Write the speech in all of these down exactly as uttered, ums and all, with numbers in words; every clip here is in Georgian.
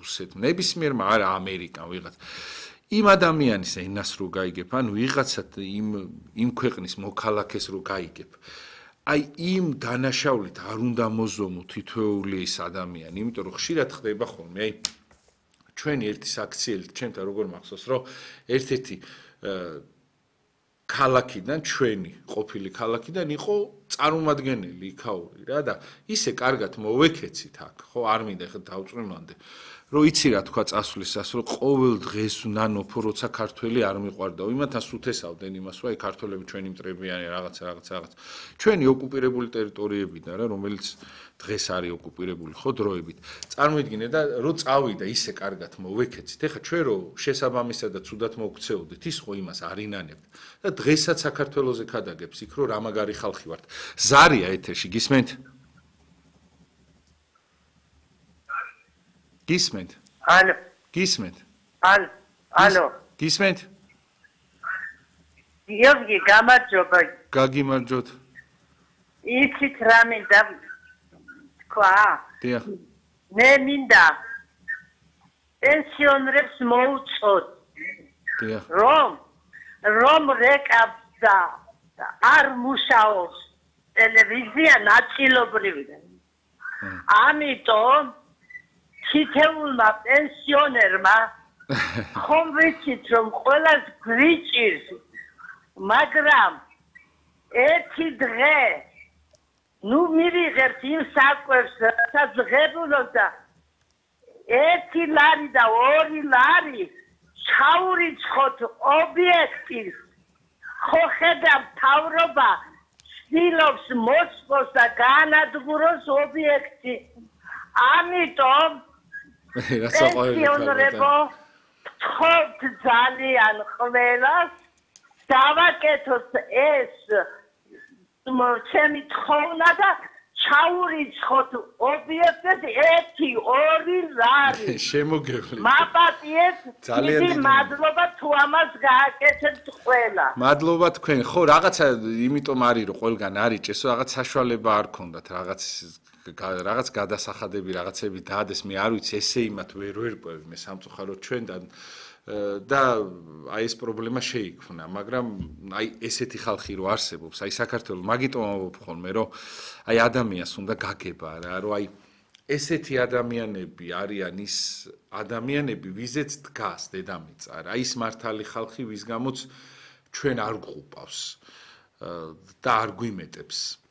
რუსეთმა, ნებისმიერმა არა ამერიკამ ვიღაც. იმ ადამიანის ენას რო გაიგებ, ანუ ვიღაცა იმ იმ ქვეყნის მოქალაქეს რო გაიგებ. აი იმ დანაშაულით არ უნდა მოზომო თითოეული ის ადამიანი, იმიტომ რომ ხშირად ხდება ხოლმე, აი ჩვენი ერთი საქციელი, ჩემთან როგორ მახსოვს, რომ ერთ-ერთი ქალაქიდან ჩვენი ყოფილი ქალაქიდან იყო წარმომადგენელი იქაური რა და ისე კარგად მოვეკეცით აქ, ხო, არ მინდა ხა დავწვიმამდე. რომ იცი რა თქვა წასვლისას, რომ ყოველ დღეს ნანოფო როცა ქართველი არ მიყვარდაო, იმათთან სუთესავდნენ იმას, რომ აი ქართველები ჩვენი მტრებიანი რაღაცა რაღაცა რაღაც. ჩვენი ოკუპირებული ტერიტორიებიდან რა, რომელიც დღეს არის ოკუპირებული ხო დროებით. წარმოიდგინე და რომ წავიდა ისე კარგად მოვეკეცით. ეხლა ჩვენ რო შესაბამისად და ცუდად მოგქცეოდით, ის ხო იმას არ ინანებთ. და დღესაც საქართველოზე ქადაგებს იქ რომ რა მაგარი ხალხი ვართ. ზარია ეთერში, გისმენთ? გისმენთ? ალო. გისმენთ? ალო. ალო. გისმენთ? გიორგი, გამარჯობა. გაგიმარჯოთ. იცით რა მინდა თქვა? დიახ. მე მინდა პენსიონერებს მოუწოდ. დიახ. რომ რომ რეკავს და არ მუშაობს ტელევიზია ნაწილობრივად. ამიტომ თითეულმა პენსიონერმა ხომ ვიცით რომ ყველას გვიჭირს, მაგრამ ერთი დღე ნუ მივიღებთ იმ საკვებს, რასაც ღებულობ და ერთი ლარი და ორი ლარი ჩაურიცხოთ ობიექტის. ხო ხედავ მთავრობა ცდილობს მოსწოს და გაანადგუროს ობიექტი. ამიტომ პენსიონერებო ვთხოვთ ძალიან ყველას დავაკეთოთ ეს ჩემი თხოვნა და ჩაურიცხოთ ობიექტად ერთი ორი ლარი. შემოგევლით. მაპატიეთ, დიდი მადლობა თუ ამას გააკეთებთ ყველა. მადლობა თქვენ. ხო, რაღაცა იმიტომ არის რომ ყველგან არის ჭესო, რაღაც საშუალება არ ქონდათ, რაღაც რაღაც გადასახადები, რაღაცები დადეს, მე არ ვიცი, ესე იმათ ვერ ვერკვევი მე სამწუხაროდ ჩვენთან და აი ეს პრობლემა შეიქმნა, მაგრამ აი ესეთი ხალხი რო არსებობს, აი საქართველოს მაგიტომ ამბობ ხოლმე, რომ აი ადამიანს უნდა გაგება რა, რომ აი ესეთი ადამიანები არიან ის ადამიანები, ვიზეც დგას დედამიწა რა, ის მართალი ხალხი, ვის გამოც ჩვენ არ გვყუპავს და არ გვიმეტებს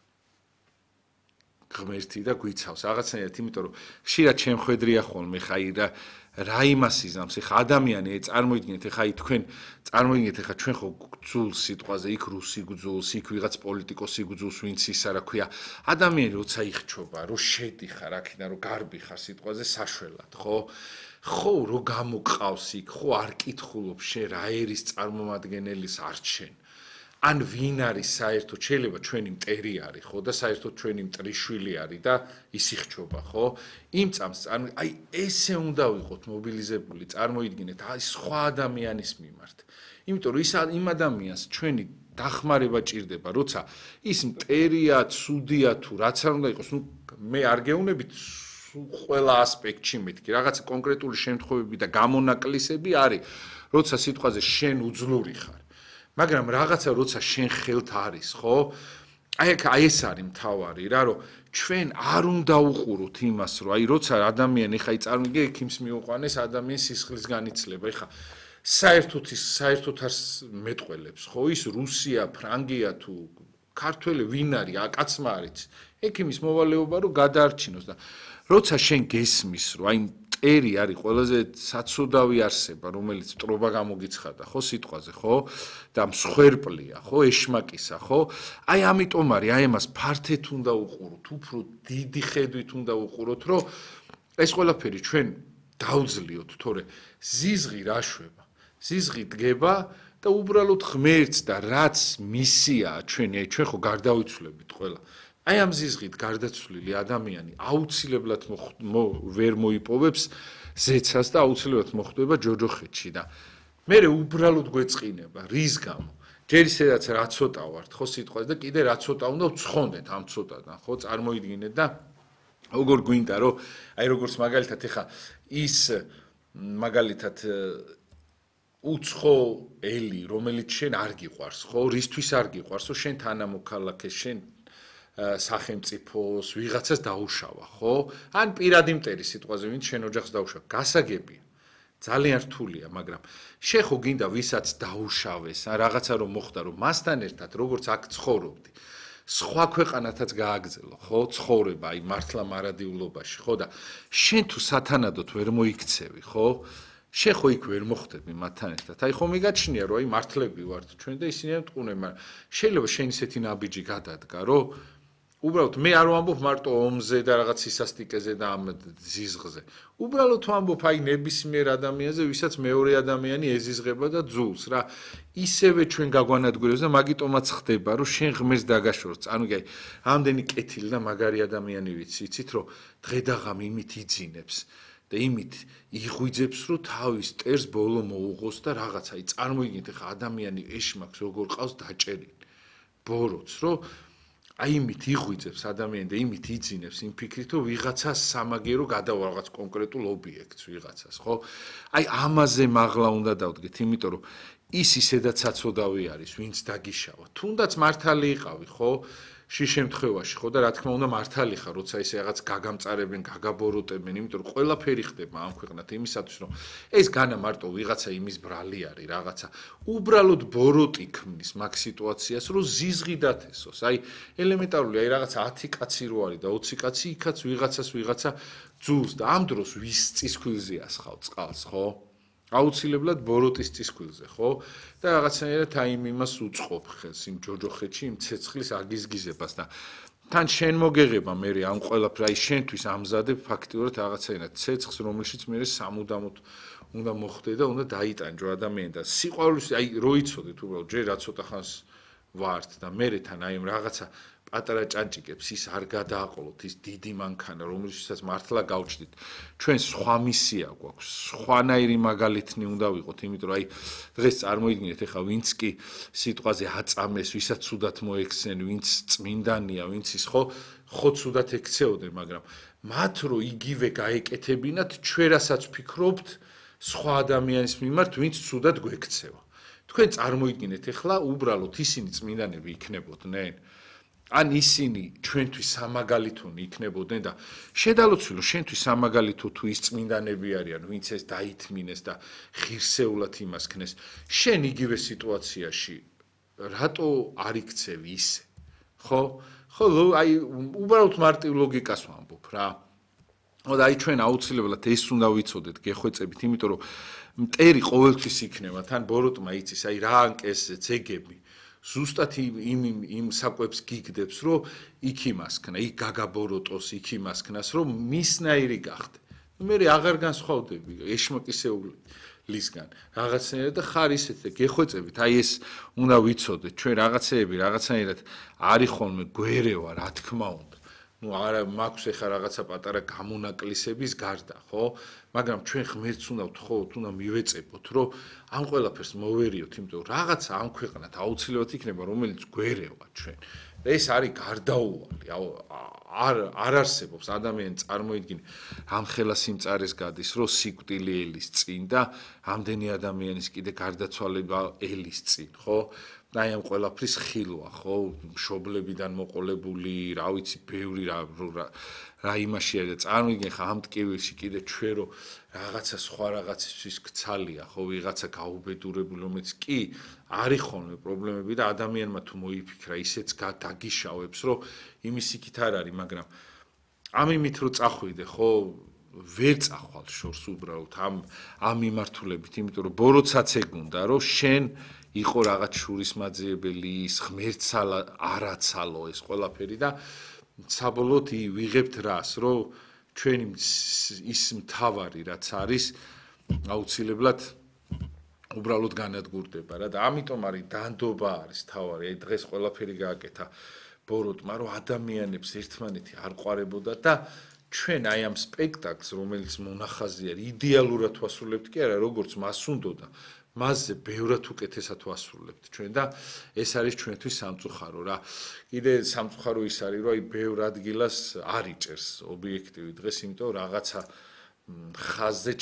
ღმერთი და გვიცავს რაღაცნაირად, იმიტომ რომ ხშირად შემხედრია ხოლმე ხაი რა რა იმას იზამს, ეხა ადამიანი წარმოიდგინეთ, ეხა აი თქვენ წარმოიდგინეთ, ეხა ჩვენ ხო გძულს სიტყვაზე, იქ რუსი გძულს, იქ ვიღაც პოლიტიკოსი გძულს, ვინც ისა რა ქვია, ადამიანი როცა იხჩობა, რო შედიხარ აქედან, რო გარბი ხარ სიტყვაზე საშველად, ხო? ხო, რო გამოყავს იქ, ხო არ კითხულობ შენ რა ერის წარმომადგენელის არჩენ. ან ვინ არის საერთოდ შეიძლება ჩვენი მტერი არის ხო და საერთოდ ჩვენი მტრიშვილი არის და ის იხჩობა ხო იმ წამს აი ესე უნდა ვიყოთ მობილიზებული წარმოიდგინეთ აი სხვა ადამიანის მიმართ იმიტომ რომ ის იმ ადამიანს ჩვენი დახმარება ჭირდება როცა ის მტერია ცუდია თუ რაც არ უნდა იყოს ნუ მე არ გეუბნებით ყველა ასპექტში მეთქი რაღაც კონკრეტული შემთხვევები და გამონაკლისები არის როცა სიტყვაზე შენ უძლური ხარ მაგრამ რაღაცა როცა შენ ხელთ არის, ხო? აი აი ეს არის მთავარი რა, რომ ჩვენ არ უნდა უყუროთ იმას, რომ აი როცა ადამიანი ხა იწარმოიგე ექიმს მიუყვანეს ადამიანის სისხლის განიცლება, ეხა საერთოდ ის საერთოდ არ მეტყველებს, ხო? ის რუსია, ფრანგია თუ ქართველი ვინ არის, აკაცმა არის. ექიმის მოვალეობა რომ გადაარჩინოს და როცა შენ გესმის, რომ აი მტერი არის ყველაზე საცუდავი არსება, რომელიც მტრობა გამოგიცხადა, ხო, სიტყვაზე, ხო? და მსხვერპლია, ხო, ეშმაკისა, ხო? აი ამიტომ არის, აი ამას ფართეთ უნდა უყუროთ, უფრო დიდი ხედვით უნდა უყუროთ, რომ ეს ყველაფერი ჩვენ დავძლიოთ, თორე ზიზღი რა შვება? ზიზღი დგება და უბრალოდ ღმერთს და რაც მისიაა ჩვენი, აი ჩვენ ხო გარდავიცვლებით ყველა. აი ამ ზიზღით გარდაცვლილი ადამიანი აუცილებლად ვერ მოიპოვებს ზეცას და აუცილებლად მოხვდება ჯოჯოხეთში და მე უბრალოდ გვეწყინება რის გამო ჯერ ისედაც რა ცოტა ვართ ხო სიტყვაზე და კიდე რა ცოტა უნდა ვცხონდეთ ამ ცოტადან ხო წარმოიდგინეთ და როგორ გვინდა რომ აი როგორც მაგალითად ეხა ის მაგალითად უცხო ელი რომელიც შენ არ გიყვარს ხო რისთვის არ გიყვარს რომ შენ თანამოქალაქეს შენ სახელმწიფოს ვიღაცას დაუშავა ხო ან პირადი მტერი სიტყვაზე ვინც შენ ოჯახს დაუშავა გასაგებია ძალიან რთულია მაგრამ შენ ხო გინდა ვისაც დაუშავეს ან რაღაცა რომ მოხდა რომ მასთან ერთად როგორც აქ ცხოვრობდი სხვა ქვეყანათაც გააგზელო ხო ცხოვრება აი მართლა მარადიულობაში ხო და შენ თუ სათანადოდ ვერ მოიქცევი ხო შენ ხო იქ ვერ მოხდები მათთან ერთად აი ხო მიგაჩნია რომ აი მართლები ვართ ჩვენ და ისინი მტყუნენ მაგრამ შეიძლება შენ ისეთი ნაბიჯი გადადგა რომ უბრალოდ მე არ ვამბობ მარტო ომზე და რაღაც სისასტიკეზე და ამ ზიზღზე უბრალოდ ვამბობ აი ნებისმიერ ადამიანზე ვისაც მეორე ადამიანი ეზიზღება და ძულს რა ისევე ჩვენ გაგვანადგურებს და მაგიტომაც ხდება რომ შენ ღმერთს დაგაშორს ანუ კი ამდენი კეთილი და მაგარი ადამიანი ვიცი იცით რომ დღედაღამ იმით იძინებს და იმით იღვიძებს რომ თავის ტერს ბოლო მოუღოს და რაღაც აი წარმოიდგინეთ ხა ადამიანი ეშმაკს როგორ ყავს დაჭერილი ბოროტს რომ აი იმით იღვიძებს ადამიანი და იმით იძინებს იმ ფიქრით რომ ვიღაცას სამაგერო გადავა რაღაც კონკრეტულ ობიექტს ვიღაცას ხო აი ამაზე მაღლა უნდა დავდგეთ იმიტომ რომ ის ისედაც საწოდავი არის ვინც დაგიშავა თუნდაც მართალი იყავი ხო შე შემთხვევაში ხო და რა თქმა უნდა მართალი ხარ როცა ისე რაღაც გაგამწარებენ გაგაბოროტებენ იმიტომ რომ ყველაფერი ხდება ამ ქვეყნად იმისათვის რომ ეს განა მარტო ვიღაცა იმის ბრალი არის რაღაცა უბრალოდ ბოროტი ქმნის მაგ სიტუაციას რომ ზიზღი დათესოს აი ელემენტარული აი რაღაცა ათი კაცი რო არის და ოცი კაცი იქაც ვიღაცას ვიღაცა ძულს და ამ დროს ვის წისქვილზე ასხავ წყალს ხო აუცილებლად ბოროტის წისქვილზე, ხო? და რაღაცნაირად აი იმას უწყობ ხელს იმ ჯოჯოხეთში იმ ცეცხლის აგიზგიზებას და თან შენ მოგეღება მე ამ ყველაფერს აი შენთვის ამზადებ ფაქტიურად რაღაცნაირად ცეცხლს რომელშიც მე სამუდამოდ უნდა მოხდე და უნდა დაიტანჯო ადამიანი და სიყვარულის აი რო იცოდეთ უბრალოდ ჯერ რა ცოტა ხანს ვართ და მე თან აი ამ რაღაცა პატარა ჭანჭიკებს ის არ გადააყოლოთ ის დიდი მანქანა რომელშიც მართლა გავჭდით ჩვენ სხვა მისია გვაქვს სხვანაირი მაგალითნი უნდა ვიყოთ იმიტომ რომ აი დღეს წარმოიდგინეთ ეხა ვინც კი სიტყვაზე აწამეს ვისაც ცუდად მოექცენ ვინც წმინდანია ვინც ის ხო ხო ცუდად ექცეოდნენ მაგრამ მათ რო იგივე გაეკეთებინათ ჩვენ რასაც ვფიქრობთ სხვა ადამიანის მიმართ ვინც ცუდად გვექცევა თქვენ წარმოიდგინეთ ეხლა უბრალოდ ისინი წმინდანები იქნებოდნენ ან ისინი ჩვენთვის სამაგალითონი იქნებოდნენ და შედალოცვილო შენთვის სამაგალითო თუ ის წმინდანები არიან ვინც ეს დაითმინეს და ღირსეულად იმას ქნეს შენ იგივე სიტუაციაში რატო არ იქცევი ისე ხო ხო აი უბრალოდ მარტივ ლოგიკას ვამბობ რა და აი ჩვენ აუცილებლად ეს უნდა ვიცოდეთ გეხვეწებით იმიტომ რომ მტერი ყოველთვის იქნება თან ბოროტმა იცის აი რა ანკეს ძეგები ზუსტად იმ იმ საკვებს გიგდებს რომ იქ იმასქნა იქ გაგაბოროტოს იქ იმასქნას რომ მისნაირი გახდე მე აღარ განსხვავდები ეშმაკისეულისგან რაღაცნაირად და ხარ ისეთ და გეხვეწებით აი ეს უნდა ვიცოდეთ ჩვენ რაღაცეები რაღაცნაირად არის ხოლმე გვერევა რა თქმა უნდა ну არა მაქვს ეხა რაღაცა პატარა გამონაკლისების გარდა ხო მაგრამ ჩვენ ღმერთს უნდა ვთხოვოთ უნდა მივეწებოთ რომ ამ ყველაფერს მოვერიოთ იმიტომ რომ რაღაცა ამ ქვეყნად აუცილებლად იქნება რომელიც გვერევა ჩვენ და ეს არის გარდაუვალი არ არ არსებობს ადამიანი წარმოიდგინე ამ ხელა სიმწარეს გადის რომ სიკვდილი ელის წინ და ამდენი ადამიანის კიდე გარდაცვალება ელის წინ ხო აი ამ ყველაფრის ხილვა ხო მშობლებიდან მოყოლებული რა ვიცი ბევრი რა რა იმაში არის წარმოიდგინე ხა ამ ტკივილში კიდე ჩვენ რო რაღაცა სხვა რაღაცისთვის გცალია ხო ვიღაცა გაუბედურებული რომელიც კი არის ხოლმე პრობლემები და ადამიანმა თუ მოიფიქრა ისეც დაგიშავებს რომ იმის იქით არ არის მაგრამ ამ იმით რო წახვიდე ხო ვერ წახვალ შორს უბრალოდ ამ ამ მიმართულებით იმიტომ რომ ბოროტსაც ეგუნდა რომ შენ იყო რაღაც შურის მაძიებელი ის ღმერთს არაცალო ეს ყველაფერი და საბოლოოდ ვიღებთ რას რომ ჩვენი ის მთავარი რაც არის აუცილებლად უბრალოდ განადგურდება რა და ამიტომ არის დანდობა არის თავარი აი დღეს ყველაფერი გააკეთა ბოროტმა რომ ადამიანებს ერთმანეთი არ ყვარებოდა და ჩვენ აი ამ სპექტაკლს, რომელიც მონახაზი არის, იდეალურად ვასრულებთ კი არა, როგორც მას უნდოდა, მასზე ბევრად უკეთესად ვასრულებთ ჩვენ და ეს არის ჩვენთვის სამწუხარო რა. კიდე სამწუხარო ის არის, რომ აი ბევრ ადგილას არ იჭერს ობიექტივი დღეს, იმიტომ რაღაცა ხაზზე